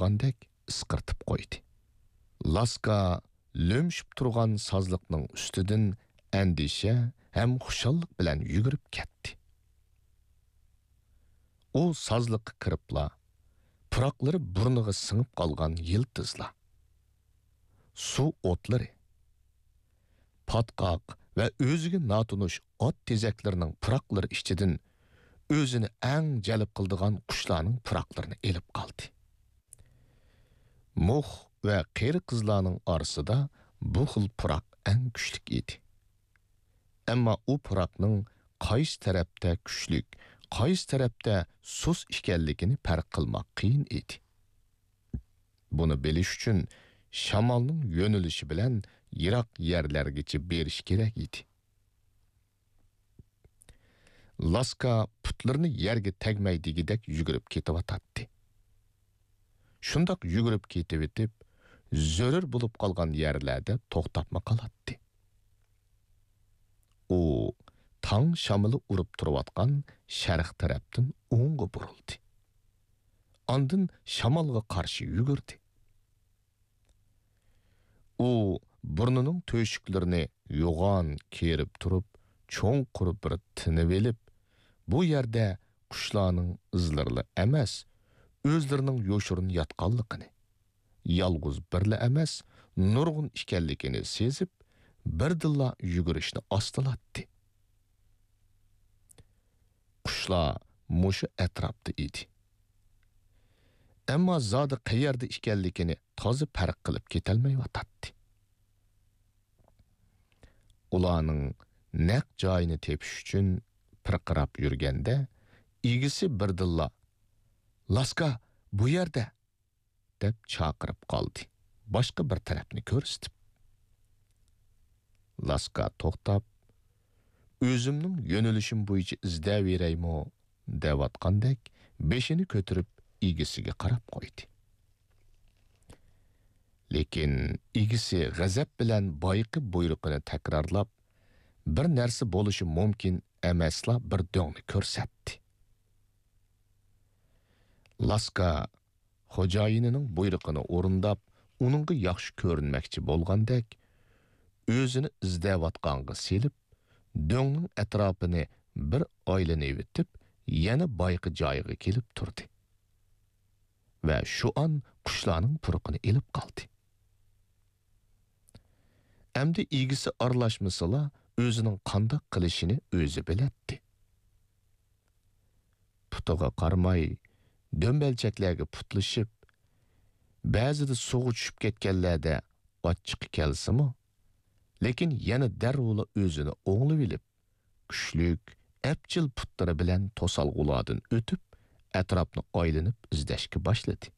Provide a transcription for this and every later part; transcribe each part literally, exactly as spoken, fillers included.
چاققاندەك ئىسقىرتىپ قويدى. لاسكا لۆمشۈپ تۇرغان سازلىقنىڭ ئۈستىدىن ئەندىشە ھەم خۇشاللىق بىلەن يۈگۈرۈپ كەتتى. ئۇ سازلىققا كىرىپلا، پۇراقلىرى بۇرنىغا سىڭىپ قالغان يىلتىزلار، سۇ ئوتلىرى، پاتقاق ۋە ئۆزىگە ناتونۇش ئات تېزەكلىرىنىڭ پۇراقلىرى ئىچىدىن ئۆزىنى ئەڭ جەلپ قىلىدىغان قۇشلارنىڭ پۇراقلىرىنى ئېلىپ قالدى. مۇخ ۋە قېرى قىزلارنىڭ ئارىسىدا بۇ خىل پۇراق ئەڭ كۈچلۈك ئىدى. ئەمما ئۇ پۇراقنىڭ قايسى تەرەپتە كۈچلۈك، قايسى تەرەپتە سۇس ئىكەنلىكىنى پەرق قىلماق قىيىن ئىدى. بۇنى بىلىش ئۈچۈن شامالنىڭ يۆنىلىشى بىلەن يىراق يەرلەرگىچە بېرىش كېرەك ئىدى. لاسكا پۇتلىرىنى يەرگە تەگمەيدىغۇدەك يۈگۈرۈپ كېتىۋاتاتتى. شۇنداق يۈگۈرۈپ كېتىۋېتىپ، زۆرۈر بولۇپ قالغان يەرلەردە توختاپمۇ قالاتتى. ئۇ تاڭ شامىلى ئۇرۇپ تۇرۇۋاتقان شەرق تەرەپتىن ئوڭغا بۇرۇلدى. ئاندىن شامالغا قارشى يۈگۈردى. ئۇ بۇرنىنىڭ تۆشۈكلىرىنى يوغان كېرىپ تۇرۇپ، چوڭقۇر بىر تىنىۋېلىپ، بۇ يەردە قۇشلارنىڭ ئىزلىرىلا ئەمەس، ئۆزلىرىنىڭ يوشۇرۇن ياتقانلىقىنى، يالغۇز بىرلا ئەمەس، نۇرغۇن ئىكەنلىكىنى سېزىپ، بىردىنلا يۈگۈرۈشنى ئاستىلاتتى. قۇشلار مۇشۇ ئەتراپتا ئىدى. ئەمما زادى قەيەردە ئىكەنلىكىنى تازا پەرق قىلىپ كېتەلمەيۋاتاتتى. ئۇلارنىڭ نەق جايىنى تېپىش ئۈچۈن پىرقىراپ يۈرگەندە، ئىگىسى بىردىنلا، «لاسكا، بۇ يەردە!» دەپ چاقىرىپ قالدى، باشقا بىر تەرەپنى كۆرسىتىپ. لاسكا توختاپ، «ئۆزۈمنىڭ يۆنىلىشىم بويىچە ئىزدەۋېرەيمۇ؟» دەۋاتقاندەك بېشىنى كۆتۈرۈپ ئىگىسىگە قاراپ قويدى. لېكىن ئىگىسى غەزەپ بىلەن بايىقى بۇيرۇقىنى تەكرارلاپ، بىر نەرسە بولۇشى مۇمكىن ئەمەسلا بىر دۆڭنى كۆرسەتتى. لاسكا خوجايىنىنىڭ بۇيرۇقىنى ئورۇنداپ، ئۇنىڭغا ياخشى كۆرۈنمەكچى بولغاندەك، ئۆزىنى ئىزدەۋاتقانغا سېلىپ، دۆڭنىڭ ئەتراپىنى بىر ئايلىنىۋېتىپ، يەنە بايىقى جايىغا كېلىپ تۇردى ۋە شۇ ئان قۇشلارنىڭ پۇرىقىنى ئېلىپ قالدى. ئەمدى ئىگىسى ئارىلاشمىسىلا، ئۆزىنىڭ قانداق قىلىشىنى ئۆزى بىلەتتى. پۇتىغا قارىماي، دۆمبەلچەكلەرگە پۇتلىشىپ، بەزىدە سۇغا چۈشۈپ كەتكەنلەردە ئاچچىقى كەلسىمۇ، لېكىن يەنە دەررۇلا ئۆزىنى ئوڭلىۋېلىپ، كۈچلۈك، ئەپچىل پۇتلىرى بىلەن توسالغۇلاردىن ئۆتۈپ، ئەتراپنى ئايلىنىپ ئىزدەشكە باشلىدى.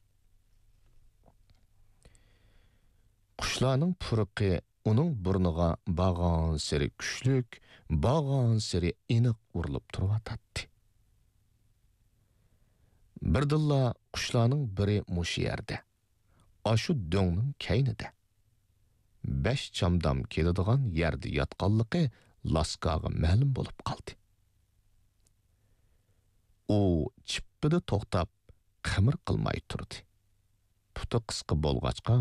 قۇشلارنىڭ پۇرىقى ئۇنىڭ بۇرنىغا بارغانسېرى كۈچلۈك، بارغانسېرى ئېنىق ئۇرۇلۇپ تۇرۇۋاتاتتى. بىردىنلا قۇشلارنىڭ بىرى مۇشۇ يەردە، ئاشۇ دۆڭنىڭ كەينىدە، بەش چامدام كېلىدىغان يەردە ياتقانلىقى لاسكاغا مەلۇم بولۇپ قالدى. ئۇ چىپپىدە توختاپ، قىمىر قىلماي تۇردى. پۇتى قىسقا بولغاچقا،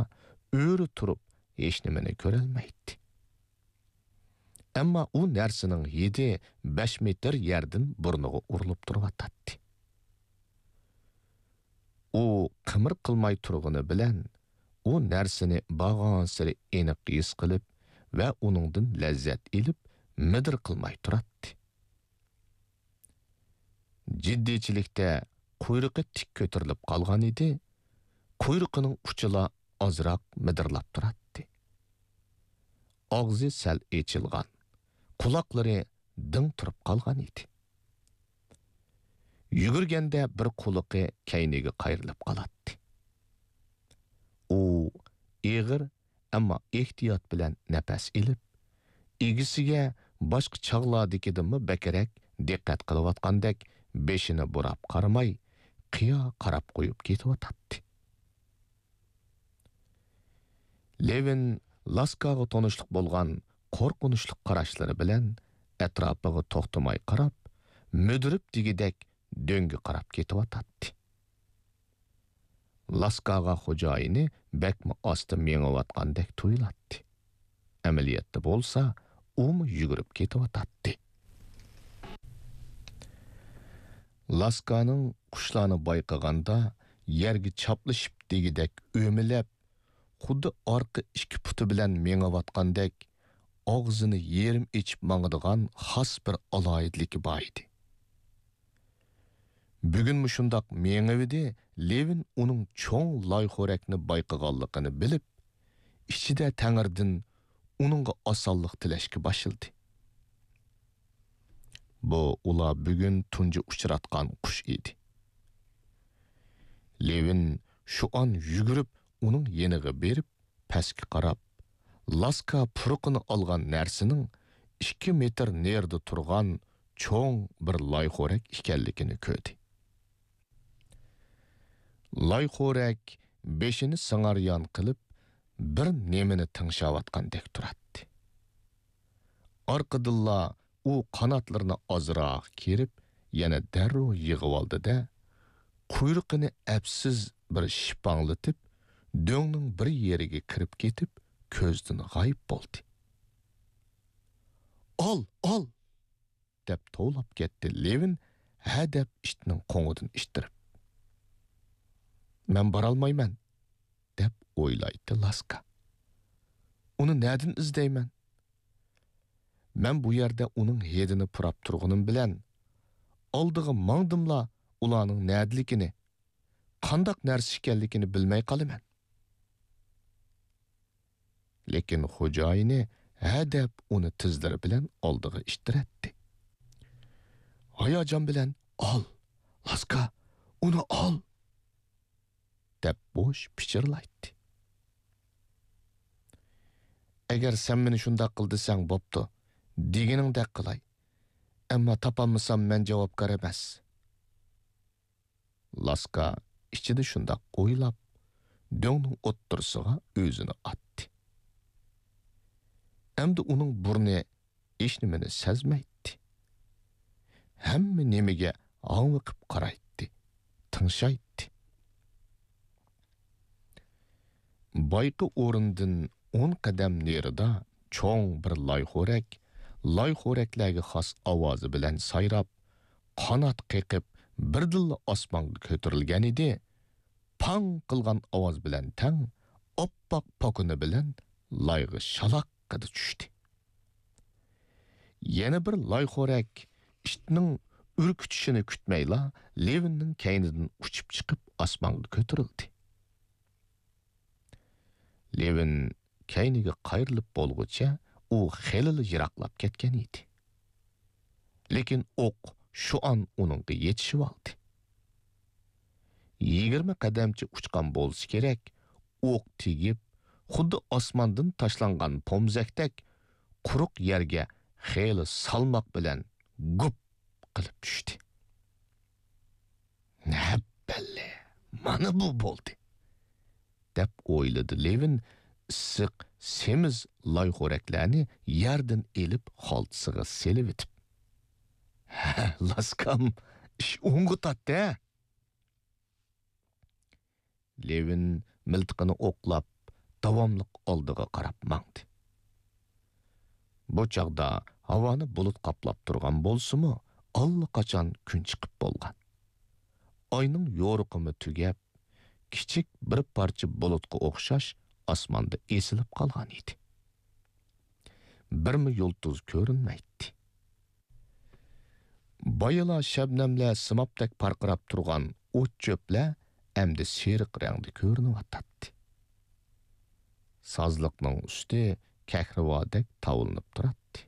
ئۆرە تۇرۇپ ھېچنېمىنى كۆرەلمەيتتى. ئەمما ئۇ نەرسىنىڭ ھىدى بەش مېتىر يەردىن بۇرنىغا ئۇرۇلۇپ تۇرۇۋاتاتتى. ئۇ قىمىر قىلماي تۇرغىنى بىلەن، ئۇ نەرسىنى بارغانسېرى ئېنىق ھېس قىلىپ ۋە ئۇنىڭدىن لەززەت ئېلىپ، مىدىر قىلماي تۇراتتى. جىددىيچىلىكتە قۇيرۇقى تىك كۆتۈرۈلۈپ قالغان ئىدى، قۇيرۇقىنىڭ ئۇچىلا ئازراق مىدىرلاپ تۇراتتى. ئاغزى سەل ئېچىلغان، قۇلاقلىرى دىڭ تۇرۇپ قالغان ئىدى. يۈگۈرگەندە بىر قۇلىقى كەينىگە قايرىلىپ قالاتتى. ئۇ ئېغىر، ئەمما ئېھتىيات بىلەن نەپەس ئېلىپ، ئىگىسىگە باشقا چاغلاردىكىدىنمۇ بەكرەك دىققەت قىلىۋاتقاندەك بېشىنى بۇراپ قارىماي، قىيا قاراپ قويۇپ كېتىۋاتاتتى. لېۋىن لاسكاغا تونۇشلۇق بولغان قورقۇنچلۇق قاراشلىرى بىلەن ئەتراپىغا توختىماي قاراپ، مۈدۈرۈپ دېگۈدەك دۆڭگە قاراپ كېتىۋاتاتتى. لاسكاغا خوجايىنى بەكمۇ ئاستا مېڭىۋاتقاندەك تۇيۇلاتتى. ئەمەلىيەتتە بولسا، ئۇمۇ يۈگۈرۈپ كېتىۋاتاتتى. لاسكانىڭ قۇشلارنى بايقىغاندا يەرگە چاپلىشىپ دېگۈدەك ئۆمىلەپ، خۇددى ئارقا ئىككى پۇتى بىلەن مېڭىۋاتقاندەك، ئاغزىنى يېرىم ئېچىپ ماڭىدىغان خاس بىر ئالاھىدىلىكى بار ئىدى. بۈگۈنمۇ شۇنداق مېڭىۋىدى، لېۋىن ئۇنىڭ چوڭ لايخورەكنى بايقىغانلىقىنى بىلىپ، ئىچىدە تەڭرىدىن ئۇنىڭغا ئاسانلىق تىلەشكە باشلىدى. بۇ ئۇلار بۈگۈن تۇنجى ئۇچراتقان قۇش ئىدى. لېۋىن شۇ ئان يۈگۈرۈپ ئۇنىڭ يېنىغا بېرىپ، پەسكە قاراپ، لاسكا پۇرىقىنى ئالغان نەرسىنىڭ ئىككى مېتىر نېرىدا تۇرغان چوڭ بىر لايخورەك ئىكەنلىكىنى كۆردى. لايخورەك بېشىنى سىڭاريان قىلىپ، بىر نېمىنى تىڭشاۋاتقاندەك تۇراتتى. ئارقىدىنلا ئۇ قاناتلىرىنى ئازراق كېرىپ، يەنە دەررۇ يىغىۋالدى-دە، قۇيرۇقىنى ئەپسىز بىر شىپاڭلىتىپ، دۆڭنىڭ بىر يېرىگە كىرىپ كېتىپ، كۆزدىن غايىب بولدى. «ئال، ئال!» دەپ توۋلاپ كەتتى لېۋىن، ھەدەپ ئىتنىڭ قوڭىدىن ئىتتىرىپ. «مەن بارالمايمەن» دەپ ئويلايتتى لاسكا. «ئۇنى نەدىن ئىزدەيمەن؟ مەن بۇ يەردە ئۇنىڭ ھىدىنى پۇراپ تۇرغىنىم بىلەن، ئالدىغا ماڭدىملا ئۇلارنىڭ نەدىلىكىنى، قانداق نەرسە ئىكەنلىكىنى بىلمەي قالىمەن.» لېكىن خوجايىنى ھەدەپ ئۇنى تىزلىرى بىلەن ئالدىغا ئىتتىرەتتى. ھاياجان بىلەن، «ئال، لاسكا، ئۇنى ئال!» دەپ بوش پىچىرلايتتى. «ئەگەر سەن مېنى شۇنداق قىل دېسەڭ، بوپتۇ، دېگىنىڭدەك قىلاي. ئەمما تاپالمىسام، مەن جاۋابكار ئەمەس.» لاسكا ئىچىدە شۇنداق ئويلاپ، دۆڭنىڭ ئوتتۇرىسىغا ئۆزىنى ئاتتى. ئەمدى ئۇنىڭ بۇرنى ھېچنېمىنى سەزمەيتتى. ھەممە نېمىگە ھاڭۋېقىپ قارايتتى، تىڭشايتتى. بايىقى ئورنىدىن ئون قەدەم نېرىدا چوڭ بىر لايخورەك، لايخورەكلەرگە خاس ئاۋازى بىلەن سايراپ، قانات قېقىپ، بىردىنلا ئاسمانغا كۆتۈرۈلگەنىدى. پاڭ قىلغان ئاۋاز بىلەن تەڭ ئاپئاق پوكىنى بىلەن لايغا شالاققىدە چۈشتى. يەنە بىر لايخورەك ئىتنىڭ ئۈركۈتۈشىنى كۈتمەيلا، لېۋىننىڭ كەينىدىن ئۇچۇپ چىقىپ ئاسمانغا كۆتۈرۈلدى. لېۋىن كەينىگە قايرىلىپ بولغۇچە ئۇ خېلىلا يىراقلاپ كەتكەن ئىدى. لېكىن ئوق شۇ ئان ئۇنىڭغا يېتىشىۋالدى. يىگىرمە قەدەمچە ئۇچقان بولسا كېرەك، ئوق تېگىپ، خۇددى ئاسماندىن تاشلانغان پومزەكتەك قۇرۇق يەرگە خېلى سالماق بىلەن گۈپ قىلىپ چۈشتى. «ھەببەللە، مانا بۇ بولدى!» دەپ ئويلىدى لېۋىن، ئىسسىق سېمىز لايخورەكلەرنى يەردىن ئېلىپ خالتىسىغا سېلىۋېتىپ. «ھە، لاسكام، ئىش ئوڭغا تارتتى، ھە!» لېۋىن مىلتىقىنى ئوقلاپ، داۋاملىق ئالدىغا قاراپ ماڭدى. بۇ چاغدا ھاۋانى بۇلۇت قاپلاپ تۇرغان بولسىمۇ، ئاللىقاچان كۈن چىقىپ بولغان. ئاينىڭ يورۇقىمۇ تۈگەپ، كىچىك بىر پارچە بۇلۇتقا ئوخشاش ئاسماندا ئېسىلىپ قالغان ئىدى. بىرمۇ يۇلتۇز كۆرۈنمەيتتى. بايىلا شەبنەملەر سىمابتەك پارقىراپ تۇرغان ئوت-چۆپلەر ئەمدى سېرىق رەڭدە كۆرۈنۈۋاتاتتى. سازلىقنىڭ ئۈستى كەھرىۋادەك تاۋلىنىپ تۇراتتى.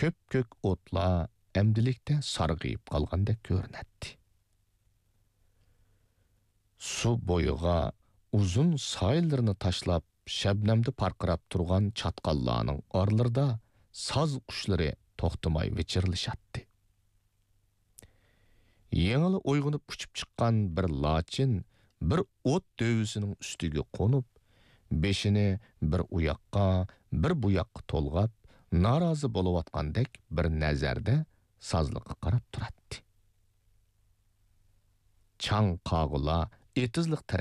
كۆپكۆك ئوتلار ئەمدىلىكتە سارغىيىپ قالغاندەك كۆرۈنەتتى. سۇ بويىغا ئۇزۇن سايلىرىنى تاشلاپ، شەبنەمدە پارقىراپ تۇرغان چاتقاللارنىڭ ئارىلىرىدا ساز قۇشلىرى توختىماي ۋىچىرلىشاتتى. يېڭىلا ئويغىنىپ ئۇچۇپ چىققان بىر لاچىن بىر ئوت دۆۋىسىنىڭ ئۈستىگە قونۇپ، بېشىنى بىر ئۇ ياققا، بىر بۇ ياققا تولغاپ، نارازى بولۇۋاتقاندەك بىر نەزەردە سازلىققا قاراپ تۇراتتى. چاڭ قاغىلار ئېتىزلىق تەرەپ.